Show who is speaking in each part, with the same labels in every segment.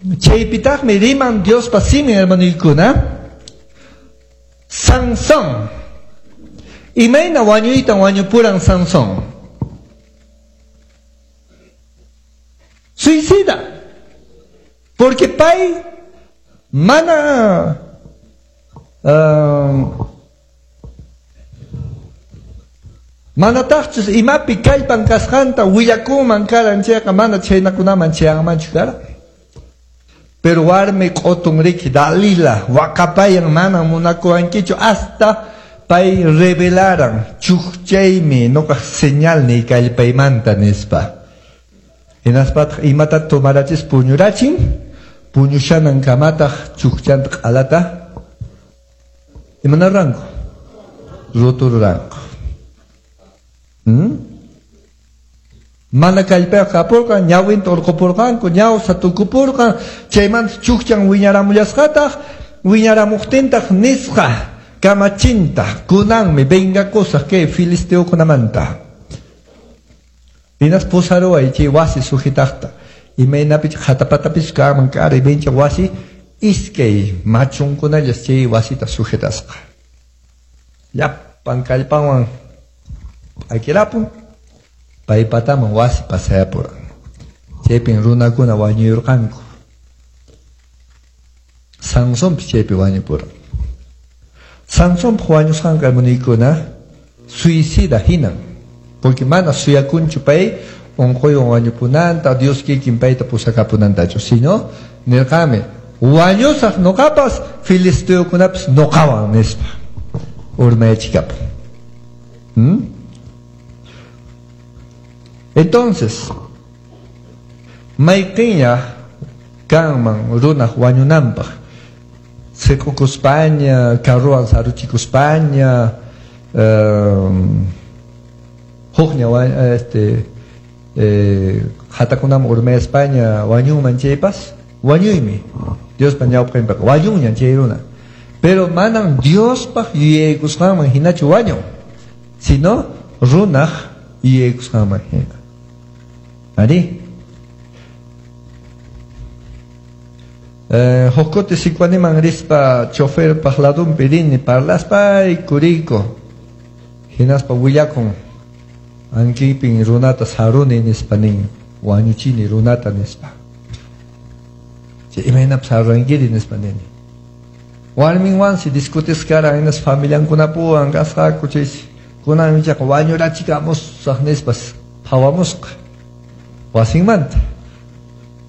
Speaker 1: Chaypitaqmi riman Diospa simin, hermanoykuna. Sansón. Imayna wañuytan wañupuran Sansón? Suicida. Porque pay mana manataqchus imapi kallpan kasqanta willakunman karan chayqa mana chaynakunaman chayanmanchu karan. Pero warmi q'utun riki Dalila waqapayan mana munakuwankichu hasta pay revelaran chukchaymi nuqaq señalniy kallpaymanta nispa. Hinaspataq imata tomarachis puñurachin, puñushanan kamataq chukchanta q'alata imanarranku rutururanku. Mana kallpayuq kapurqan, ñawinta urqupurqanku, ñawsa tukupurqan, chaymanta chukchan wiñaramullasqataq, wiñaramuqtintaq nisqa kamachinta, kunanmi vengakusaq kay filisteokunamanta. Hinas pusaruway chay wasi sujetaqta, imaynapichu qhatapatapis kanman kara, imaynacha wasi iskay machunkunallas chay wasita sujetasqa. Llapan kallpanwan p'akirapun, paypataman wasi pasayapuran. Chaypin runakuna wañuyurqanku. Sansonpis chaypi wañupuran. Sansonpaq wañusqanqa hermanoykuna suicida hinan, porque mana suyakunchu pay unquywan wañupunanta, Dios kikin payta pusakapunantachu, sino nirqami wañusaq nuqapas filisteokunapas nuqawan nispa urmayachikapun. Entonces, mayqiña kanman runaq wañunanpaq, siq'ukuspaña, carruwan saruchikuspaña, hukña qhatakunaman urmayaspaña wañunman chaypas, wañuymi Diospa ñawpaqinpiqa, wañunñan chay runa. Pero manan Diospaq yuyaykusqanman hinachu wañun, sino runaq yuyaykusqanman hina. Ari? Huk kuti Sicuaniman rispa choferpaq ladunpi rini parlaspay kuriyku. Hinaspa willakun ankipin runata saruni nispa nin, wañuchini runata nispa. Chay imaynapas sarunkiri nispa nini. Warminwansi discutisqara hinas familiankunapuwan kasqaku chaysi kunan ichaqa wañurachikamusaq nispas phawamusqa wasinmanta.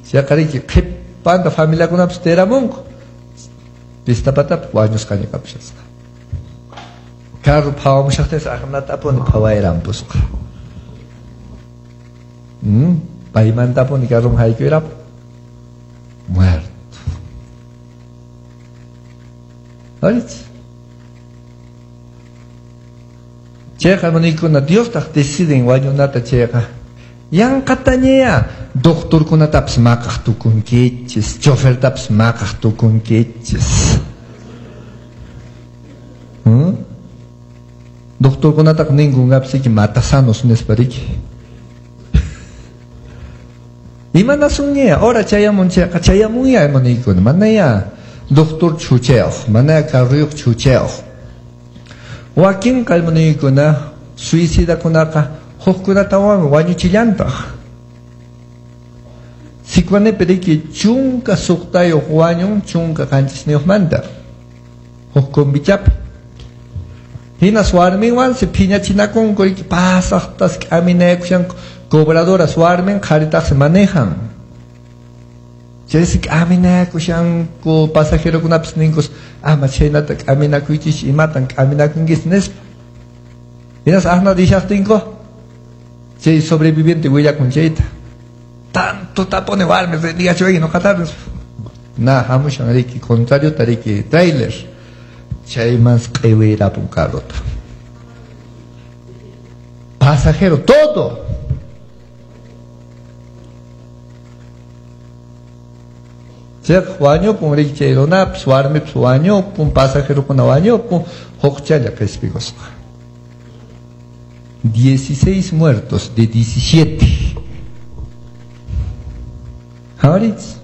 Speaker 1: Chayqa riki qhipanta familiakunapas tiramunku. Pistapatapi wañusqaña kapusasqa. Carro phawamushaqtinsi aqnatapuni phawayrampusqa. Paymantapuni carroman haykuyrapu. Muerto. Aritz. Chayqa hermanoykuna Diostaq deciden wañunata chayqa. Yanqataña doctorkunatapas maqaq tukunkichis, chofertapas maqaq tukunkichis. Doctorkunataqa ninkunqapis matasanos nispa riki. Imanasunña, ora chayamun chayqa chayamunya hermanoykuna, manaya doctor chuchayuq, manaya carruyuq chuchayuq. Wakinqa hermanoykuna suicidakunaqa hukkunatawanmi wañuchillantaq. Sicuanipi riki 16 wañun 17niyuqmanta huk kombichapi. Hinas warminwansi phiñachinakunku riki pasaqtas k'aminayakushanku. Cobradoras warmin qharitaqsi manejan. Chaysi k'aminayakushanku pasajerokunapis ninkus ama chhaynata k'aminakuychis imatan k'aminakunkis nispa. Hinas aqna rishaqtinku chay sobreviviente willakun chayta. Tanto tapone warmi rendigachuwayki nuqatapis. Na hamushan riki contrariota riki trailer. Chayman q'iwirapun carrota. Pasajero todo. Chayqa wañupun riki chay runapis, warmipis wañupun, pasajerokuna wañupun, hukchalla qhispikusqa. 16 muertos de 17. Haritz.